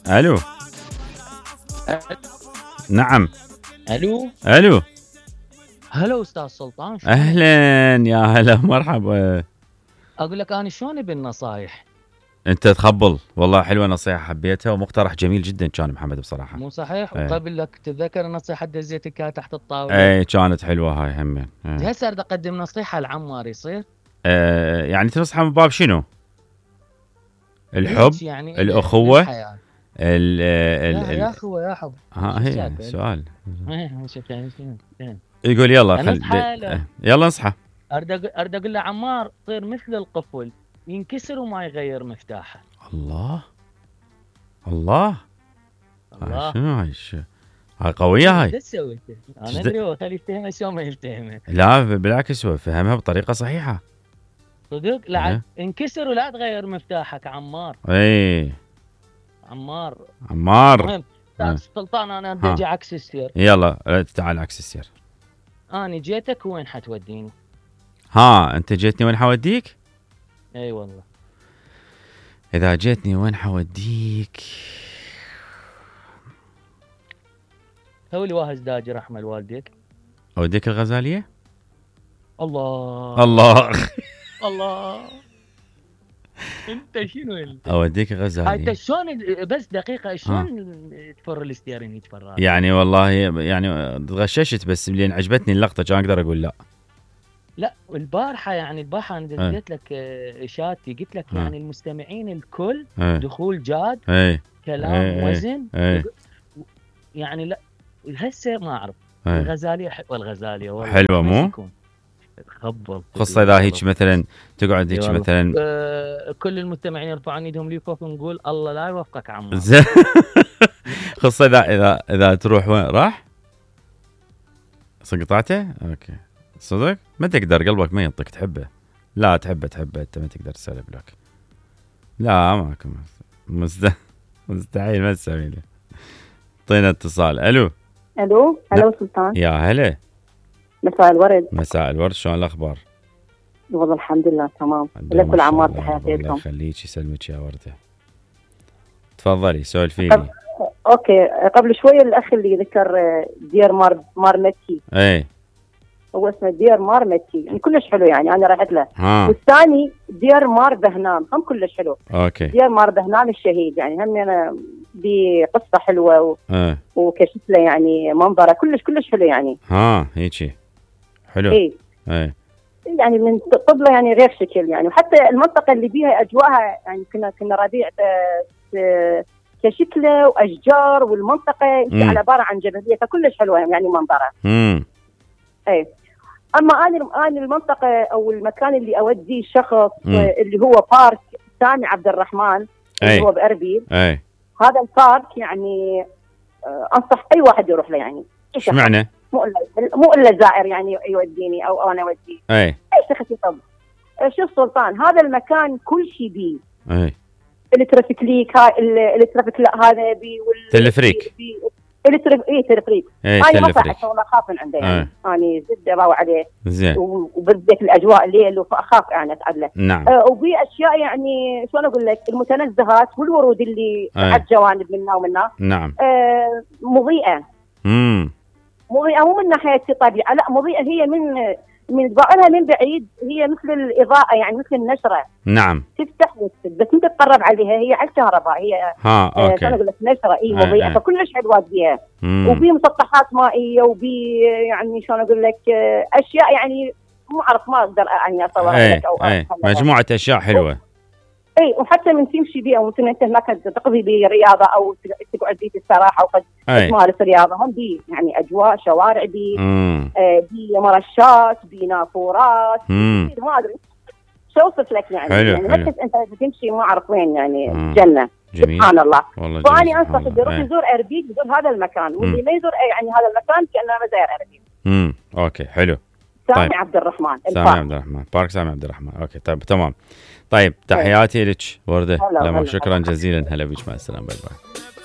الو. نعم. الو. الو. هلا استاذ سلطان، شلونك؟ اهلا يا هلا مرحبا. اقول لك انا شلوني بالنصايح؟ انت تخبل والله، حلوه نصيحه حبيتها ومقترح جميل جدا كان محمد بصراحه. مو صحيح؟ ايه. وقبل لك تتذكر النصيحه دزيت كانت تحت الطاوله؟ اي كانت حلوه هاي همين. ايه. هسه اريد اقدم نصيحه لعمار، يصير؟ يعني تنصح من باب شنو؟ الحب، هيك يعني الاخوه، للحياة. يا اخوه يا حب. ها هي سؤال. شوف يعني يقول يلا يلا انصحه. اريد اقول له عمار صير مثل القفل، ينكسر وما يغير مفتاحه. الله الله. الله. شنو هاي هاي قويه هاي. ايش سويت؟ انا ادري هو خليه يفتهمها شلون ما يفتهمها. لا بالعكس هو فهمها بطريقه صحيحه. صدق؟ لا انكسر ولا تغير مفتاحك عمار. اي عمار. عمار. المهم سلطان انا بدي اجي عكس السير. يلا تعال عكس السير. انا جيتك وين حتوديني؟ ها انت جيتني وين حوديك؟ اي والله. اذا جيتني وين حوديك؟ سوي لي واهز داجر احمد والديك. اوديك الغزاليه؟ الله الله الله. انت شنو انت؟ اوديك الغزاليه. انت شلون بس دقيقه شلون تفر الاستيرين يتفرج؟ يعني والله يعني تغششت، بس لين عجبتني اللقطه كان اقدر اقول لا. لا البارحه انا دزيت لك اشارتي، قلت لك يعني المستمعين الكل دخول جاد، كلام وزن. يعني لا هسه ما اعرف. الغزاليه حلوه، الغزاليه والله حلوه مو؟ تخبل خاصه اذا هيك مثلا تقعد هيك مثلا كل المستمعين يرفعون ايدهم لي فوق ونقول الله لا يوفقك عمار. خاصه اذا تروح وين راح؟ قطعته؟ اوكي. صدق؟ ما تقدر، قلبك ما ينطق تحبه. لا تحبه انت ما تقدر تسوي لك. لا ماكو مستحيل ما تسوي له. اعطينا اتصال. الو. هلا سلطان. يا هلا. مساء الورد. مساء الورد، شلون الاخبار؟ والله الحمد لله تمام. لك والعمار تحياتكم. الله يخليك يسلمك يا ورده. تفضلي سولفي لي. اوكي، قبل شويه الاخ اللي ذكر دير مار مكي. اي هو اسمه دير مار مكي، يعني كلش حلو، يعني انا رحت له. والثاني دير مار بهنام هم كلش حلو. اوكي. دير مار بهنام الشهيد يعني هم أنا بقصه حلوه وكشكله يعني منظره كلش حلو يعني. هيجي حلو. اي يعني من طبله يعني غير شكل يعني، وحتى المنطقه اللي بيها اجواءها يعني كنا ربيع كشكله واشجار، والمنطقه على عباره عن جبليه فكلش حلوه يعني منظرها. اي اما انا المنطقه او المكان اللي اوديه شخص اللي هو بارك سامي عبد الرحمن اللي هو باربيل. هذا البارك يعني انصح اي واحد يروح له يعني. ايش معنى؟ مو الا زائر يعني يوديني او انا اوديه. اي شخص يطب. شوف سلطان، هذا المكان كل شيء بيه. الترافيك ليك الترافيك لا هذا بي تلفريك. تلفريك. انا ما صح والله اخاف من عنده يعني. انا زد اروح عليه زين، وبالذات الاجواء الليل فاخاف يعني اتعب له. نعم. وفي اشياء يعني شلون اقول لك، المتنزهات والورود اللي على الجوانب منا ومنا. نعم. مضيئه. مضيئه مو من ناحيه طبيعه، لا مضيئه هي من ظاهرها من بعيد هي مثل الاضاءه يعني مثل النشره. نعم. تفتح وتسد بس انت تقرب عليها هي على الكهرباء هي. اوكي. انا اقول لك نشره مضيئه فكلش حلوه بيها. وبي مسطحات مائيه وبي يعني شلون اقول لك اشياء يعني ما اعرف ما اقدر يعني اصورها لك او مجموعه اشياء حلوه. وحتى من تمشي بيها وممكن انت هناك تقضي برياضه او تقعد بي استراحه وقد تمارس رياضه. هم بي يعني اجواء شوارع بي مرشات بي نافورات ما ادري شو اوصف لك يعني. حلو يعني حلو. انت تمشي ما اعرف وين يعني جنه. جميل. سبحان الله. فاني انصح اللي يروح يزور اربيل يزور هذا المكان، واللي ما يزور يعني هذا المكان كانه ما زاير اربيل. اوكي حلو. سامي طيب. عبد الرحمن. سامي عبد الرحمن، بارك سامي عبد الرحمن. اوكي طيب تمام. طيب تحياتي لك ورده. شكرا جزيلا. هلا بك، مع السلامه. باي باي.